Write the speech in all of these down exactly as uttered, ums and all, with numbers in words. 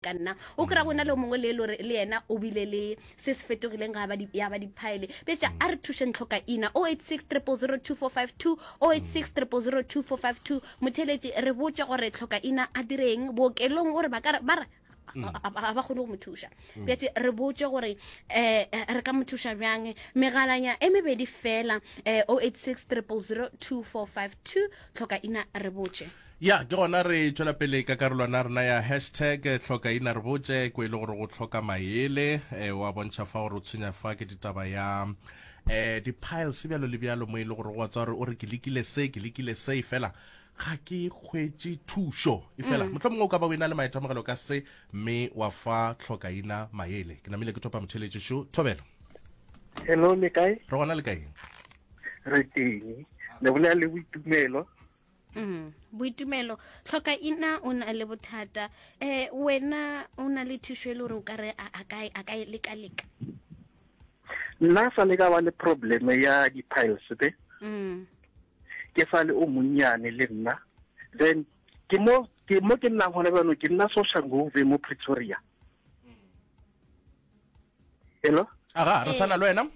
Ka nna o kry-a go na le o mongwe le le le yena o bile le se se fetogileng ga ba di, ya ba diphaele. Betša a re thušeng tlhoka ina oh eight six triple zero two four five two, oh eight six triple zero two four five two. Motheeletši re botše gore tlhoka ina a direng bookelong, gore ba ka re ba re ga ba kgone go mo thuša. Bjatše re botše gore um re ka mo thuša bjang. Megalanya e mebedi fela, um oh eight six triple zero two four five two, tlhoka ina re botše. Ya, ke gona re tšwela pele ka karolwana ya rena ya hashtag hloka ina re botše, ko e le gore go hloka maele, eh, wa bontšha fa gore o tshwenya fa ke ditaba ya eh, di-piles bjalo le bjalo, mo e le gore wa tswa gore o re ke lekile se, ke lekile se, efela ga ke hwetše thušo. Efela mm. mohlomongwe o ka ba o ena le maitemogelo ka se, mme wa fa hloka ina maele. Ke namile ke thopa motheeletši šo. Thobelo. Hello, le kae? Re gona, le kae? Re teng. Le bolela le Boitumelo. Mm, Boitumelo, tlhoka ina o na le bothata. Eh wena o na le thušo e le gore o ka re a ka a ka leka leka? Nna sa le ka ba le problem ya di-piles be. Mm. Ke sa le o monnyane le nna. Then ke mo ke mo ke nnang gona bjano, ke nna Soshanguve mo Pretoria. Hello? Aga, re sana le wena.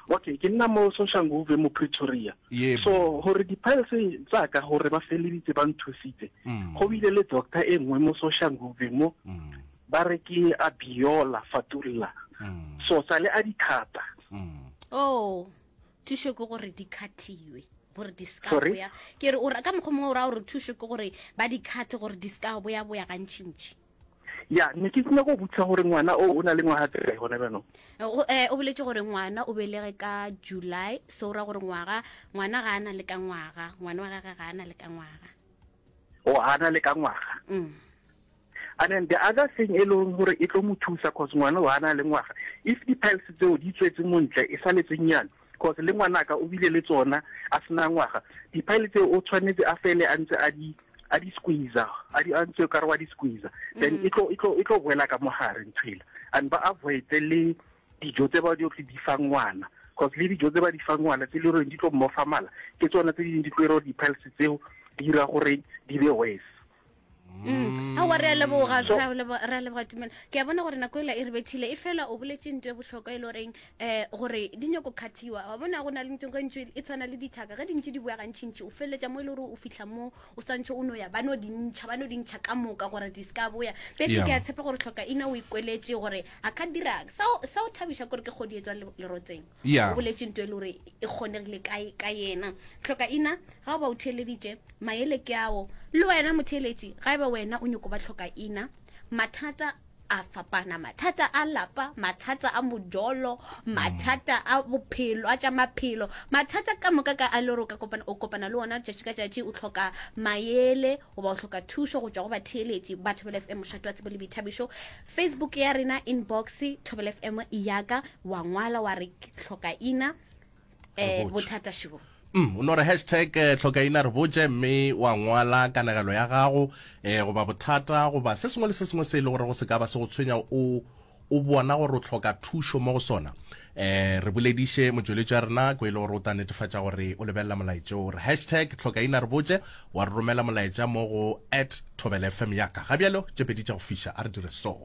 Okay, ke nna mo Soshanguve mo Pretoria. Yebo. So gore di-piles tsa ka gore ba feleditse ba nthusitse. Mm. Go bile le doctor e nngwe mo Soshanguve mo Mm. ba re ke Abiola Fatulla. Mm. So sale a dithata. Mm. Oh, thušo ke gore di khathiwe, gore di ska Sorry? boya. Ke re o ra ka mokgwa mongwe o ra gore thušo ke gore ba di khathe gore di ska boya boya gantšintši. Ya, ne ke nyaka go botsa gore ngwana o o na le ngwaga tse kae gona bjanong? Go, eh, o boletse gore ngwana o belege ka July, so o ra gore ngwaga, ngwana ga ana le ka ngwaga, ngwana wa gagwe ga ana le ka ngwaga. O ana le ka ngwaga. Mm. And then the other thing e leng gore e tlo mo thusa, cause ngwana o ana le ngwaga, if di-piles tseo di tswetse montle e saletse nnyane, cause le ngwanaka o bile le tsona a sena ngwaga, di-pile tseo o tshwanetse a fele a ntse a di a di squeeze, a di a ntse ka re wa di squeeze, then e tlo e tlo e tlo boela ka mogare nthwela. And ba avoid le dijo tse ba di di fang ngwana, cause le dijo tse ba di fang ngwana tse le gore di tlo mmofa mala, ke tsona tse dingwe di tlo ira gore di-piles tseo di dira gore di be worse. Mm. Aowa, re a leboga, re a leboga, re a leboga Tumelo. Ke a bona gore nako ela e re bethile, e fela o boletse ntho e bohlokwa e le goreng um gore di nyako khathiwa. Wa bona go na le ntho ge ntse e tshwana le dithaka, ge di ntse di boya gantšintši o feleletša mo e le gore o fihla mo o swantšhe o no ya ba no di ntšha, ba no di ntšha ka moka gore di ska boya. Betse Yeah. ke a tshepa gore tlhoka ina o ikweletše gore a ka dirang. Sa o, sa o thabiša kore ke kgodi e tswang le-, lerotseng. Yeah. O boletse ntho e le gore e kgonegile ka, ka yena. Tlhoka ina ga o ba o theeleditše maele ke ao. Le wena motheeletši, ga eba wena o nyoko ba tlhoka ina, mathata a fapana, mathata a lapa, mathata a modolo, mathata a bophelo, a tša maphelo, mathata ka moka ka a le gore o ka kopana, o kopana le ona tšatši ka tšatši, o tlhoka maele goba o tlhoka thušo go tšwa go batheeletši ba Thobela F M, mošate wa tsebo le boithabišo. Facebook ya rena inbox Thobela F M yaka, wa ngwala wa re ke tlhoka ina, eh, Re botše. bothata šebo. Mm, o no re hashtag, eh, tlhoka ina re botše, mme wa ngwala kanegelo ya gago, eh, goba bothata goba se sengwe le se sengwe se e le gore go se ka ba se go tshwenya, o, o bona gore o tlhoka thušo mo go sona. Eh, re bolediše motšweletši wa rena ko e le gore o tla netefatša gore o lebelela molaetša o re hashtag tlhoka ina re botše, wa re romela molaetša mo go at Thobela F M yaka. Ga bjalo tše pedi tša go fiša, a re dire so.